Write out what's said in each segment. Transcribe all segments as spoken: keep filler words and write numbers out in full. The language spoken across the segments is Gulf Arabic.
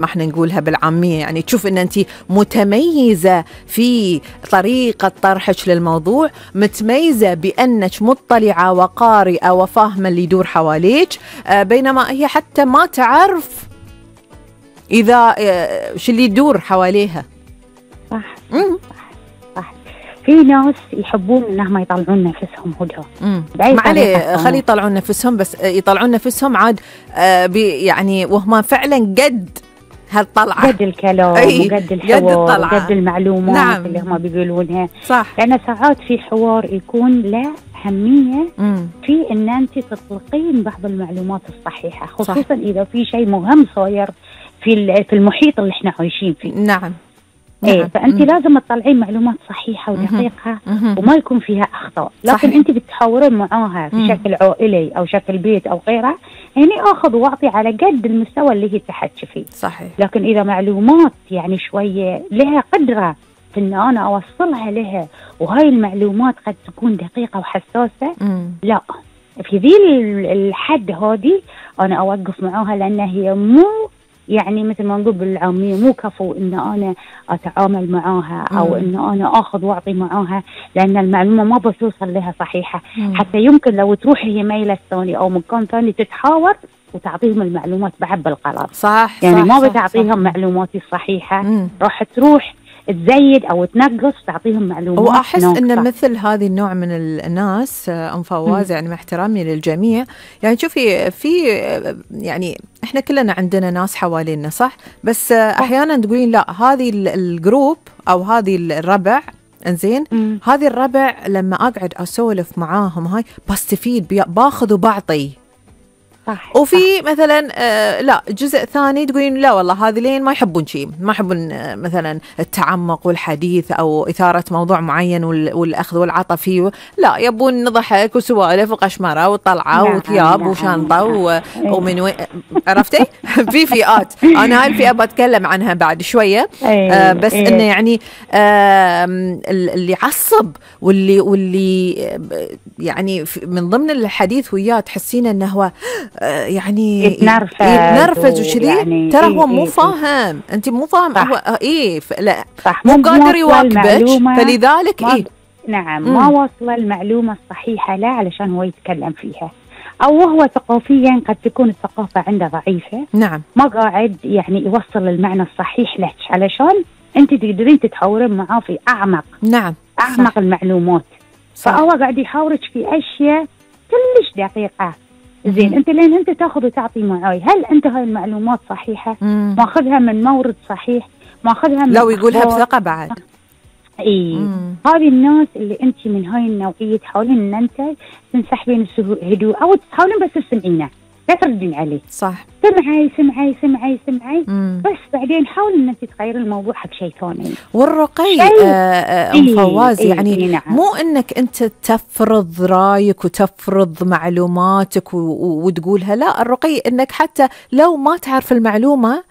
ما احنا نقولها بالعامية، يعني تشوف ان انت متميزة في طريقة طرحك للموضوع، متميزة بانك مطلعة وقارئة وفاهمة اللي يدور حواليك، بينما هي حتى ما تعرف اذا شو اللي يدور حواليها. صح صح, صح. في ناس يحبون انهم يطلعون نفسهم هدى، ما عليه خلي يطلعون نفسهم، بس يطلعون نفسهم عاد آه يعني وهم فعلا قد هالطلعة، قد الكلام وقد الحوار وقد المعلومات. نعم. اللي هم بيقولونها صح. لأن ساعات في حوار يكون له أهمية مم. في أن أنت تطلقين بعض المعلومات الصحيحة، خصوصا صح. إذا في شيء مهم صاير في في المحيط اللي احنا عايشين فيه. نعم. ايه نعم. فانت مم. لازم تطلعين معلومات صحيحه ودقيقه مم. وما يكون فيها اخطاء، لكن صحيح. انت بتحاورين معاها في مم. شكل عائلي او شكل بيت او غيره، يعني اخذ واعطي على قد المستوى اللي هي تحكي فيه. صحيح. لكن اذا معلومات يعني شويه لها قدره في ان انا اوصلها لها، وهاي المعلومات قد تكون دقيقه وحساسه، مم. لا في ذي الحد هذه انا اوقف معاها، لان هي مو يعني مثل ما نقول بالعامية مو كفو إن أنا أتعامل معاها أو إن أنا أخذ وأعطي معاها، لأن المعلومة ما بتوصل لها صحيحة. مم. حتى يمكن لو تروح هي ميلة ثاني أو مكان ثاني تتحاور وتعطيهم المعلومات بعد بالغلط. صح. يعني صح ما صح بتعطيهم صح. معلومات الصحيحة، راح تروح تزيد أو تنقص تعطيهم معلومات. وأحس أن مثل هذه النوع من الناس أم فواز، يعني مع احترامي للجميع، يعني شوفي في يعني إحنا كلنا عندنا ناس حوالينا صح، بس أحيانا تقولين لا هذه الجروب أو هذه الربع انزين، هذه الربع لما أقعد أسولف معاهم هاي بستفيد، باخذ وبعطي. صح. وفي صح. مثلا آه لا جزء ثاني تقولين لا والله هذه لين ما يحبون شيء، ما يحبون آه مثلا التعمق والحديث او اثاره موضوع معين والاخذ والعطاء فيه، لا يبون نضحك وسوالف وقشمره وطلعه نعم وثياب نعم وشنطه نعم ومن وين عرفتي. في فئات انا هاي الفئه بتكلم عنها بعد شويه، آه بس أيه انه يعني آه اللي يعصب واللي واللي يعني من ضمن الحديث وياه تحسين انه هو يعني يتنرفز يتنرفز وشذي، يعني ترى هو مو فاهم، انت مو فاهم هو ايه لا مو قادر يواكبك، فلذلك ايه نعم مم. ما واصله المعلومه الصحيحه لا علشان هو يتكلم فيها، او هو ثقافيا قد تكون الثقافه عنده ضعيفه. نعم. ما قاعد يعني يوصل المعنى الصحيح لك علشان انت تقدرين تتحاورين معاه في اعمق. نعم اعمق صح. المعلومات صح. فهو قاعد يحاورك في اشياء كلش دقيقه. زين انت لين انت تاخذ وتعطي معاي، هل انت هاي المعلومات صحيحه؟ ماخذها من مورد صحيح، ماخذها من لو يقولها بثقه بعد. اي هذه الناس اللي انت من هاي النوعيه تحاولين ان انت تنسحبين هدوء او تحاولين بس تسمعينه لا تردين عليه. صح. سمعي سمعي سمعي سمعي مم. بس بعدين حاول ان انت تغيرين الموضوع حق شيء ثاني. والرقي آه ام فواز إيه يعني إيه نعم. مو انك انت تفرض رايك وتفرض معلوماتك وتقولها، لا الرقي انك حتى لو ما تعرف المعلومه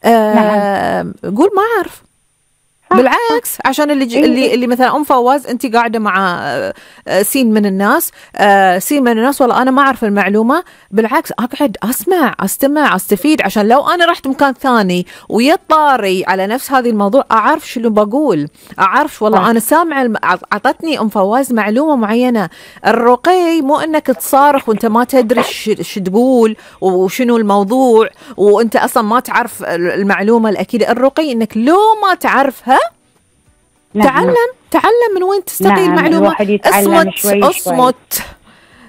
آه نعم. قول ما اعرف. بالعكس عشان اللي إيه اللي اللي مثلا ام فواز انت قاعده مع سين من الناس، سين من الناس والله انا ما اعرف المعلومه، بالعكس اقعد اسمع استمع استفيد، عشان لو انا رحت مكان ثاني ويطاري على نفس هذه الموضوع اعرف شنو بقول، اعرف والله آه. انا سامع الم... عطتني ام فواز معلومه معينه. الرقي مو انك تصارخ وانت ما تدري ايش تقول وشنو الموضوع وانت اصلا ما تعرف المعلومه الاكيده. الرقي انك لو ما تعرفها نعم. تعلم تعلم من وين تستقي نعم. المعلومة. اصمت اصمت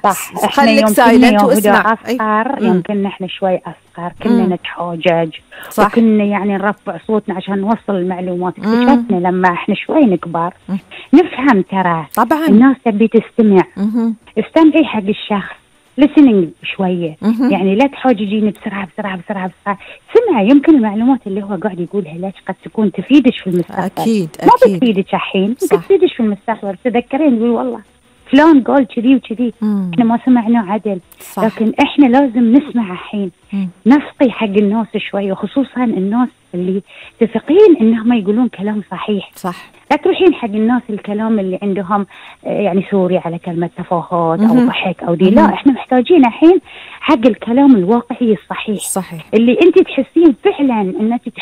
صح. خليك سايلنت واسمع. أصغر يمكن نحن شوي أصغر كنا مم. نتحاجج صح. وكنا يعني نرفع صوتنا عشان نوصل المعلومات. اكتشفنا لما احنا شوي نكبر مم. نفهم ترى طبعا الناس تبي تستمع. مم. استمعي حق الشخص listening شوية مم. يعني لا تحاججين بسرعة بسرعة بسرعة بسرعة. سمع يمكن المعلومات اللي هو قاعد يقولها لك قد تكون تفيدش في المستقبل. أكيد ما أكيد بتفيدك الحين بتفيدش في المستقبل. تذكرين تقول والله فلان قال كذي وكذي، احنا ما سمعناه عدل. صح. لكن احنا لازم نسمع الحين، نسقي حق الناس شوي، وخصوصا الناس اللي تثقين انهم يقولون كلام صحيح. صح. لا تروحين حق الناس الكلام اللي عندهم يعني سوري على كلمة تفاهات او ضحك او دي. لا، احنا محتاجين الحين حق الكلام الواقعي الصحيح. صحيح. اللي انت تحسين فعلا انك